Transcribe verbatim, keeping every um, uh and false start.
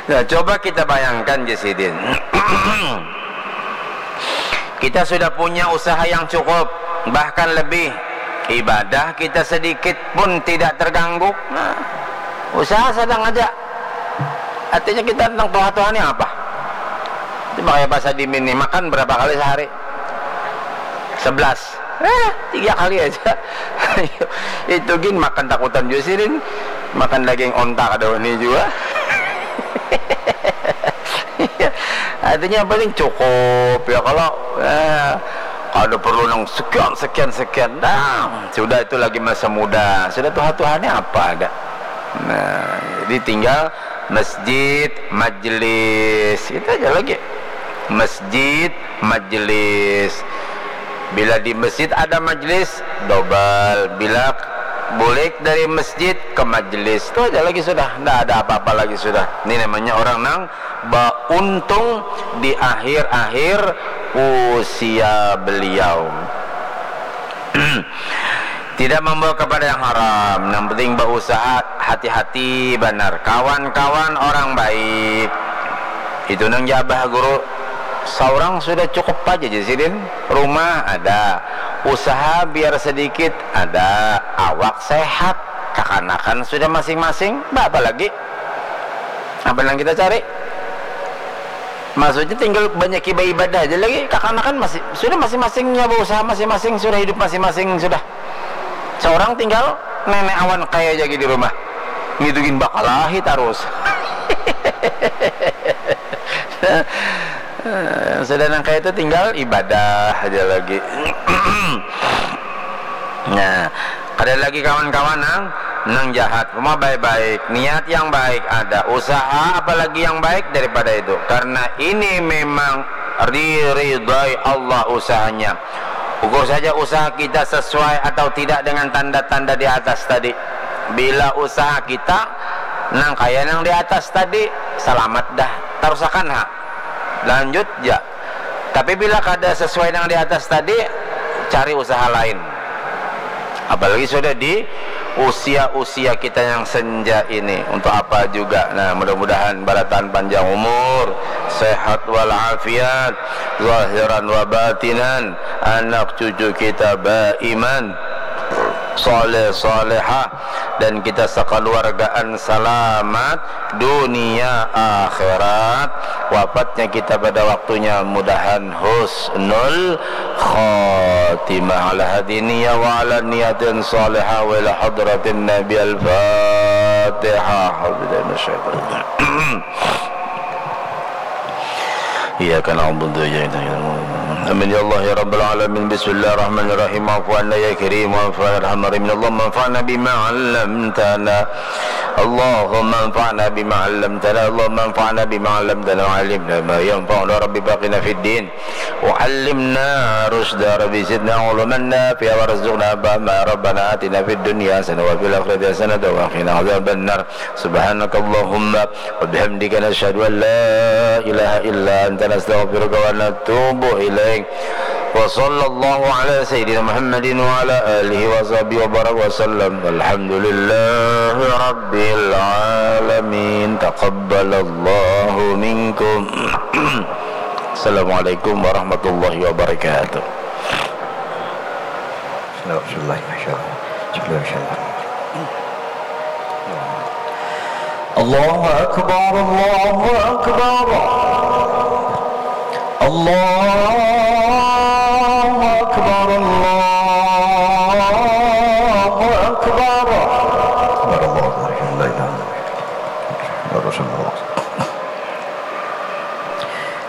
Nah, coba kita bayangkan, Jasidin. Kita sudah punya usaha yang cukup, bahkan lebih. Ibadah kita sedikit pun tidak terganggu. Nah, usaha sedang aja. Artinya kita tentang tuha-tuha ni apa? Cuma kayak pasar dimin nih, makan berapa kali sehari? Sebelas. Eh, tiga kali aja. Itu gin makan takutan juga sih, Din. Makan daging onta kada ini juga. Artinya yang penting cukup ya, kalau eh, ada perlu nang sekian sekian sekian, dah sudah, itu lagi masa muda, sudah tuha-tuhanya apa ada. Nah, jadi tinggal masjid, majlis, itu aja lagi. Masjid, majlis. Bila di masjid ada majlis, dobel. Bila bulik dari masjid ke majlis, itu aja lagi sudah. Ndak ada apa-apa lagi sudah. Ini namanya orang nang bauntung di akhir-akhir usia beliau. Tidak membawa kepada yang haram. Yang penting berusaha, hati-hati banar. Kawan-kawan orang baik. Itu nang jabah guru. Seorang sudah cukup aja, Jasidin. Rumah ada. Usaha biar sedikit ada. Awak sehat. Kakanakan sudah masing-masing. Apa lagi? Apa yang kita cari? Maksudnya tinggal banyak ibadah aja lagi. Kakanakan masih sudah masing-masingnya berusaha masing-masing, sudah hidup masing-masing sudah. Seorang tinggal nenek awan kaya aja di rumah. Ngidungin bakalahi terus. Sudah nang kayak itu tinggal ibadah aja lagi. Nah, ada lagi kawan-kawan nang nang jahat, rumah baik-baik, niat yang baik ada, usaha apalagi yang baik daripada itu. Karena ini memang diridai Allah usahanya. Ukur saja usaha kita sesuai atau tidak dengan tanda-tanda di atas tadi. Bila usaha kita nang kaya nang di atas tadi, selamat dah. Tarusakan ha. Lanjut ja. Tapi bila kada sesuai nang di atas tadi, cari usaha lain. Apalagi sudah di usia-usia kita yang senja ini, untuk apa juga. Nah, mudah-mudahan barataan panjang umur, sehat walafiat, zahiran wa batinan, anak cucu kita baiman, saleh salehah, dan kita sekeluargaan selamat dunia akhirat. Wafatnya kita pada waktunya, mudahan husnul khatimah. Ala hadhihi niyah wa ala niyatin salihah wa ila hadratin Nabi. Al-Fatihah. A'udzubillahi minasyaitonir rajim. Iyyaka na'budu wa iyyaka nasta'in. Amin ya Allah ya rabbal alamin. Bismillahirrahmanirrahim. Afu anna ya karim, afu anna arhamar rahimin. Allahumma anfa'na bima 'allamtana. Allahumma anfa'na bima 'allamtana. Allahumma anfa'na bima 'allamtana wa 'allimna ma yanfa'una. Rabbi faqihna fid din. Wa 'allimna rusyda. Rabbi zidna 'ilman nafi'a warzuqna fahma. Rabbana atina fid dunya hasanah wa fil akhirati hasanah wa qina adzabannar. Subhanakallahumma wa bihamdika, nasyhadu an la ilaha illa anta, nastaghfiruka wa natubu ilaik. Wa sallallahu ala sayyidina Muhammadin wa ala alihi wa sahbihi wa barak wa sallam. Walhamdulillahi rabbil alamin. Taqabbalallahu minkum. Assalamualaikum warahmatullahi wabarakatuh. Bismillahirrahmanirrahim. Bismillahirrahmanirrahim. Allahu Akbar, Allahu Akbar. Allahu Akbar, Allahu Akbar. Akbar, Allahu Akbar. La ilaha illallah. Rasulullah.